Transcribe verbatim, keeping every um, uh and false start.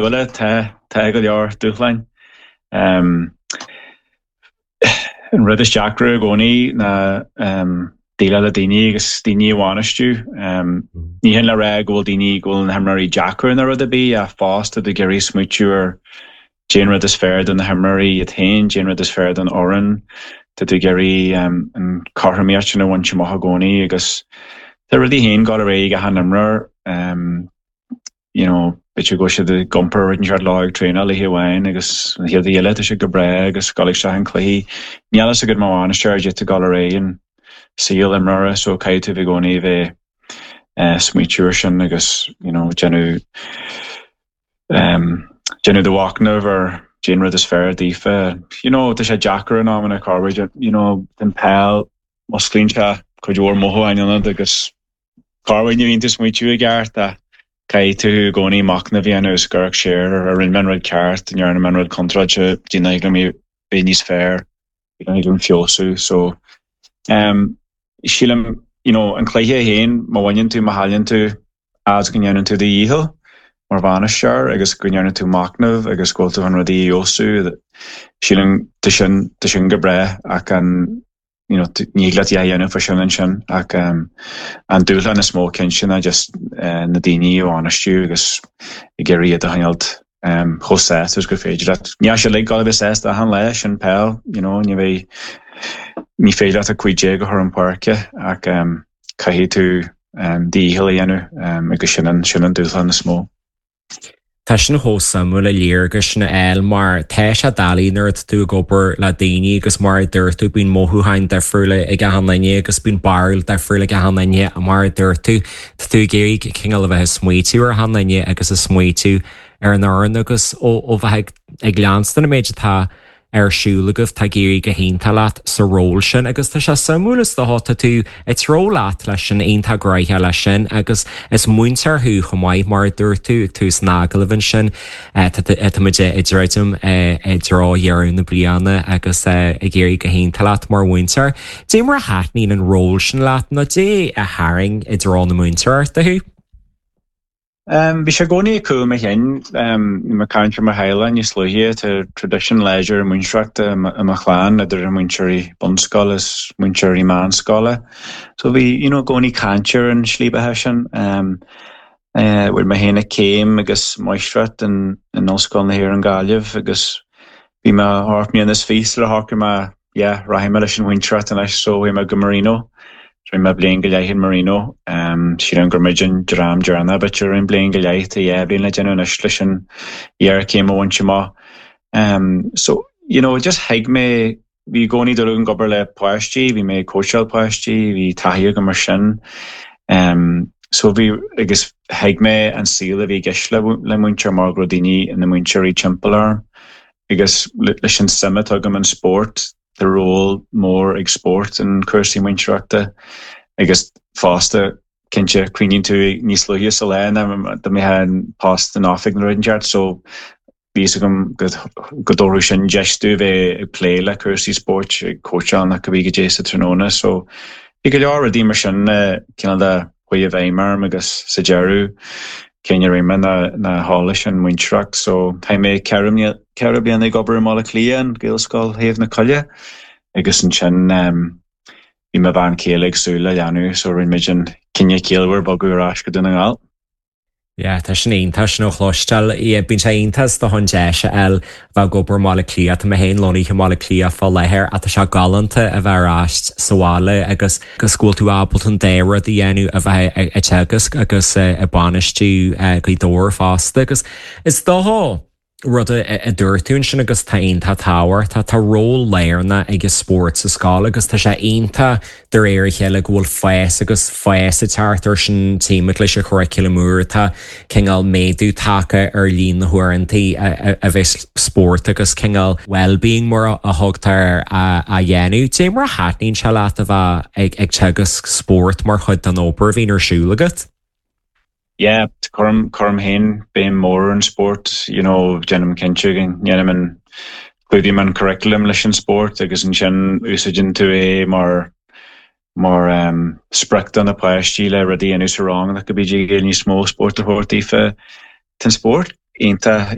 Bhuel tá tá go leor dúshláin. Um, an rud is deacra i gcónaí ná um, déileáil le daoine agus daoine a bhainistiú. Um, ní hin le rá go bhfuil daoine go bhfuil na himreoirí deacair ná rud ar bith ach fosta ag iarraidh smaoitiú ar cén rud is fearr do na himreoirí iad féin, cén rud is fearr don fhoireann, Tá tú ag iarraidh um, an chothromaíocht sin a bhaint amach i gcónaí agus tá rudaí féin ag dul ar aghaidh ag achan imreoir um, you know, b'fhéidir go siad ag iompar rud inteacht lá ag traenáil oíche amháin agus an chéad eile tá sé go breá agus dul isteach an cluiche. Níl a fhios agat mar bhainisteoir duit ag dul ar aghaidh an saol imreora so caithfidh tú i gcónaí bheith uh, smaoitiú air sin agus you know, déanamh um, déanamh do mhachnamh ar cén rud is fearr daofa. You know, tá sé deacair in amanna corruair you know, den peil musclaíonn sé cuid mhór mothúchán ionat agus corruair ní bhíonn tú smaoitiú i gceart a caithfidh tú i gcónaí machnamh a dhéanamh is gur siar ar rinne mé an rud ceart ndearna mé an rud contráilte déna go bheith níos fearr an feabhsú so um, sílim you know, an cluiche féin má bhaineann tú má chailleann tú as go ndéanann tú do dhícheall mar bhainisteoir agus go ndéanann tú machnamh agus go bhfuil tú an rudaí a fheabhsú sílim tá sin tá sin go breá ach an you know, ní le a dhéanamh fa sin ansin ach um, an dúshlán is mó cinnte ná just uh, na daoine a bhainistiú agus ag iarraidh iad a choinneáil um, chomh sásta is gur féidir leat. Ní sé le go bheith sásta achan lá sin peil, you know, ní bheidh ní féidir leat a cúig déag a chur chun páirce ach um, caithfidh tú um, dícheall a dhéanamh um, agus sin an sin an dúshlán is mó. Tá sin chomh suimiúil a léargas sin a fháil mar tá sé doiligh nuair atá tú ag obair le daoine agus mar a dúirt tú bíonn mothúcháin difriúla ag achan duine agus bíonn barúil difriúil ag achan duine mar a dúirt tú Tá tú ag iarraidh cineál a bheith ag smaoitiú ar achan duine agus ag smaoitiú ar an fhoireann agus ó ó bheith ag leanstan an méid atá ar siúl agaibh tá ag éirí go hiontach leat sa ról sin agus tá sé suimiúil is dócha tá tú ag treo leat leis sin iontach gnoitheach leis sin agus is múinteoir thú chomh maith mar a dúirt tú ag tús an agallaimh ansin tá muid ag druidim i dtreo dheireadh na bliana agus ag éirí go hiontach leat mar mhúinteoir. Dé mar a thaitníonn an ról sin leat nó dé a tharraing i dtreo na múinteoireachta thú? Um, bhí sé i gcónaí ag cúl mo chinn um, mar caint mar theaghlach níos luaithe tá traidisiún láidir múinteoireachta i mo chlann idir múinteoirí bunscoile is múinteoirí meánscoile. So bhí you know, i gcónaí caint ar an slí beatha sin. Um, uh, bhfuil mé féin céim agus máistreacht in, in Ollscoil na hÉireann Gaillimh agus bhí mé ocht mbliana is fiche le shocraigh mé yeah, rachaidh mé leis an mhúinteoireacht anois so bhí mé go Marino. Rinne mé bliain go leith in Marino um, sílim gur muid an dream deireanach b'fhéidir an bliain go leith tá dhá bhliain le déanamh anois leis an iarchéim a bhaint amach. Um, so you know, just thuig mé bhí i gcónaí dul an obair le páistí, bhí mé cóiseáil páistí, bhí taithí agam mar sin. Um, so bhí agus thuig mé an saol a bhí i gceist le, le múinteoir mar go raibh daoine ina múinteoirí timpeall orm. agus leis an suim atá agam an spórt tá ról mór ag spórt in cúrsaí múinteoireachta agus fosta cinnte cuimhníonn tú níos luaithe sa lá ná dá mbeifeá an post in oifig nó rud inteacht so bhí a fhios agam go go dtabharfadh sin deis domh bheith ag plé le cúrsaí spóirt ag cóitseáil nach go bhí go dé sa tráthnóna so bhí go leor rudaí mar sin cineál de chuaigh i bhfeidhm orm agus sa deireadh cinneadh a rinne mé ná ná dhul leis an múinteoireacht so tá mé ceithre ceithre bliana ag obair i mBaile Átha Cliath an Gaelscoil Thaobh na Coille agus ansin um, bhí mo bhean chéile ag súil le leanbh so rinne muid an cinneadh ciallmhar bogadh ar ais go Dún na nGall. Yeah, tá sin iontach sin a chloisteáil bíonn sé iontach do an deis a fháil bheith ag obair i mBaile Átha Cliath Tá mé féin lonnaithe i mBaile Átha Cliath fá láthair ach tá sé galánta a bheith ar ais sa bhaile agus agus go bhfuil tú ábalta an dá rud a dhéanamh a bheith ag teagasc agus ag bainistiú Gaoth Dobhair fosta agus is dócha rud a dúirt tú ansin agus tá iontach tábhachtach tá ról lárnach ag an spórt sa scoil agus tá sé iontach de réir a chéile go bhfuil fás agus fás ag teacht ar sin timpeall leis an churaclam úr tá cineál méadú tagtha ar líon na huaireanta a bheith spórt agus cineál well-being mar a thugtar a dhéanamh. Dé mar a thaitníonn sé leat a bheith ag ag teagasc spórt mar chuid den obair a bhíonn ar siúl agat? Yeah, cuirim cuirim féin béim mór an spórt, you know, déanaim cinnte go ndéanaim an clúdaím an curriculum leis an spórt agus ansin úsáideann tú é mar mar um, sprioc do na páistí le rudaí a dhéanamh sa rang nach go bídí níos mó spórt a thabhairt daofa. Tá an spórt iontach